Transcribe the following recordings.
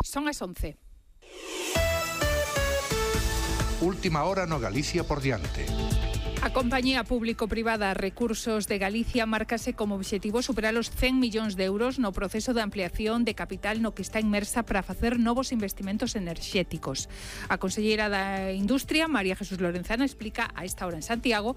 Son as 11. Última hora no Galicia por diante. A compañía público-privada Recursos de Galicia márcase como obxectivo superar os 100 millóns de euros no proceso de ampliación de capital no que está inmersa para facer novos investimentos enerxéticos. A conselleira da Industria, María Jesús Lorenzana, explica a esta hora en Santiago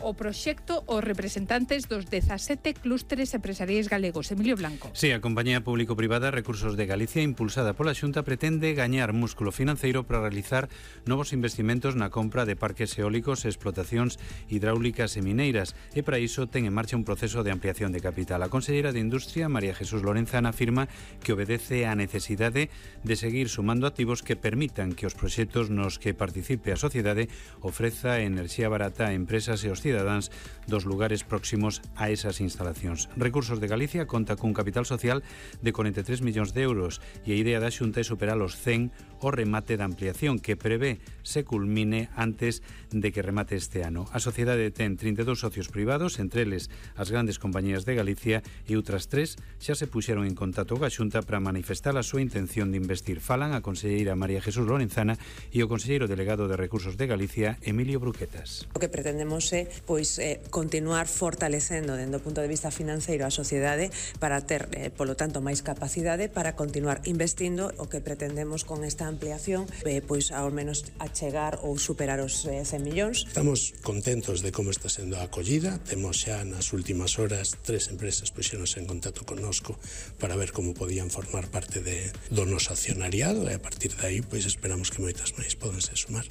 o proxecto os representantes dos 17 clústeres empresariais galegos. Emilio Blanco. Sí, a compañía público-privada Recursos de Galicia, impulsada pola Xunta, pretende gañar músculo financeiro para realizar novos investimentos na compra de parques eólicos e explotacións hidráulicas e mineiras, e para iso ten en marcha un proceso de ampliación de capital. A conselleira de Industria, María Jesús Lorenzana, afirma que obedece á necesidade de seguir sumando activos que permitan que os proxectos nos que participe a sociedade ofreza enerxía barata a empresas e os cidadáns dos lugares próximos a esas instalacións. Recursos de Galicia conta cun capital social de 43 millóns de euros e a idea da Xunta é superar os 100 o remate da ampliación, que prevé se culmine antes de que remate este ano. A sociedade ten 32 socios privados, entre eles as grandes compañías de Galicia, e outras 3 xa se puxeron en contacto coa Xunta para manifestar a súa intención de investir. Falan a conselleira María Jesús Lorenzana e o conselleiro delegado de Recursos de Galicia, Emilio Bruquetas. O que pretendemos é continuar fortalecendo dende o punto de vista financeiro a sociedade para ter, polo tanto, máis capacidade para continuar investindo. O que pretendemos con esta ampliación ao menos achegar ou superar os 100 millóns. Estamos contentos de como está sendo a acollida. Temos xa nas últimas horas 3 empresas puxéronse en contacto connosco para ver como podían formar parte do noso accionariado, e a partir de aí esperamos que moitas máis podense sumar.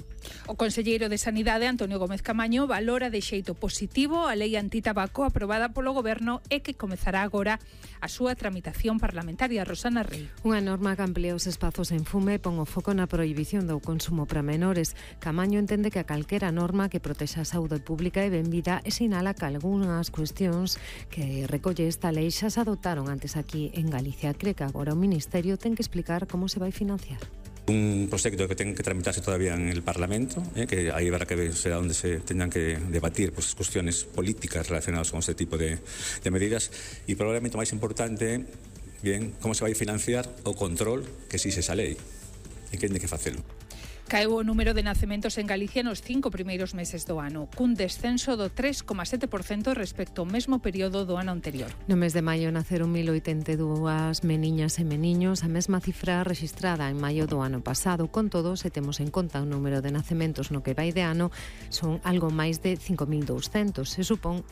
O conselleiro de Sanidade, Antonio Gómez Camaño, valora de xeito positivo a lei antitabaco aprobada polo Goberno e que comezará agora a súa tramitación parlamentaria. Rosana Rey. Unha norma que amplía os espazos en fume e pon o foco na prohibición do consumo para menores. Camaño entende que a calquera norma que protexa a saúde pública é benvida e sinala que algunhas cuestións que recolle esta lei xa se adoptaron antes aquí en Galicia. Cree que agora o Ministerio ten que explicar como se vai financiar. Un proxecto que ten que tramitarse todavía en el Parlamento, que aí habrá que ver será onde se tengan que debatir as cuestiones políticas relacionadas con este tipo de medidas, e probablemente o máis importante, como se vai financiar o control que exige esa lei e que ten que facelo. Caeu o número de nacementos en Galicia nos 5 primeiros meses do ano, cun descenso do 3,7% respecto ao mesmo período do ano anterior. No mes de maio naceron 1082 meniñas e meniños, a mesma cifra rexistrada en maio do ano pasado. Con todo, se temos en conta o número de nacementos no que vai de ano, son algo máis de 5.200, se supón